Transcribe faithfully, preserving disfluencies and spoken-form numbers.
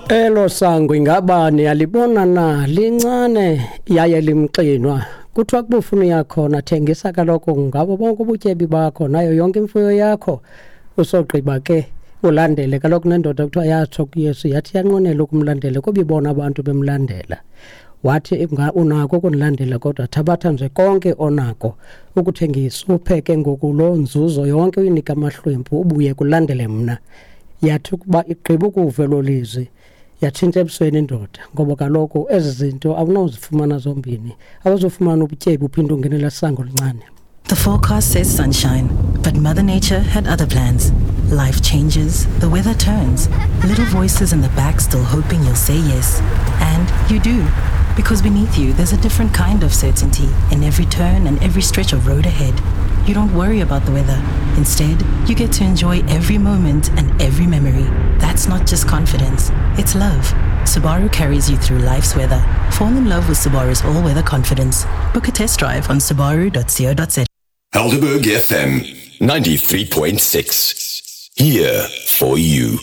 Elo sango ingaba niyalibona na lincane yaye limxinwa kuthiwa kubufuna uyakhona thengisa kaloku ngabo bonke ubutyebi bakho nayo yonke imfuyo yakho usogqiba ke ulandele kaloku nendoda kuthiwa yatsho kuYesu yathi yanqwenela ukumlandela kuba ibona abantu bemlandela wathi unako ukundilandela kodwa thabatha nje konke onako ukuthengisa uphe ke ngoku loo nzuzo yonke uyinike amahlwempu ubuye kulandele mna. Yathi ukuba igqiba ukuva elo lizwi yatshintsha ebusweni indoda ngoba kaloku ezi zinto awunozifumana zombini, awuzufumana ubutyebi uphinde ungenela sango lincane. The forecast says sunshine, but Mother Nature had other plans. Life changes, the weather turns, little voices in the back still hoping you'll say yes. And you do. Because beneath you, there's a different kind of certainty in every turn and every stretch of road ahead. You don't worry about the weather. Instead, you get to enjoy every moment and every memory. That's not just confidence, it's love. Subaru carries you through life's weather. Fall in love with Subaru's all-weather confidence. Book a test drive on subaru dot co dot za. Helderberg F M ninety-three point six. Here for you.